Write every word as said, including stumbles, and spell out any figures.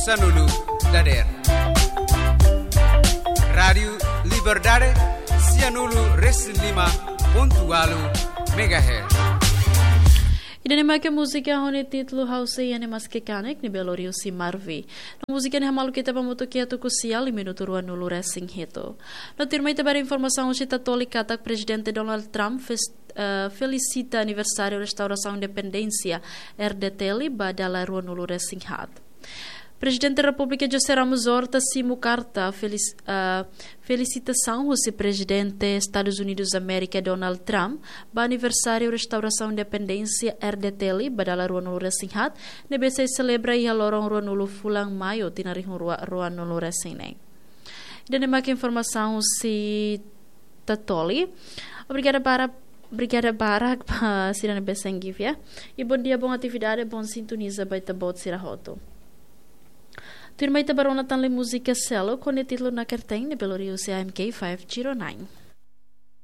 Sanulu dader. Rádiu Liberdade, sianulu resin lima pontu ualu megahertz. Ida-ne'e mak múzika ho nia títulu Ha'u Sei Ene Maske Kanek, ne'ebé lori husi Marvi. No múzika ne'e hamaluk ita ba hamutuk iha tuku sia, minutu ruanulu resin hitu. No tuirmai ita ba informasaun husi Tatoli katak Prezidente Donald Trump fes-, eh, felisita aniversáriu restaurasaun independénsia R D T L ba dala ruanulu resin haat. Prezidente Repúblika José Ramos Horta simu karta felis-, eh, felisitasaun husi Prezidente Estadus Unidus Amérika Donald Trump ba aniversáriu restaurasaun independénsia R D T L ba dala ruanulu resin haat, ne'ebé sei selebra iha loron ruanulu fulan Maiu tinan rihun rua ruanulu resin neen. Ida-ne'e mak informasaun husi Tatoli. Obrigada barak, obrigada barak ba sira ne'ebé sei givi, ya. I bondia, bon atividade, bon sintoniza ba ita-boot sira hotu. Tuirmai ita ba rona tan lai múzika seluk ho nia títulu Nakerten, ne'ebé lori husi A M K five zero nine.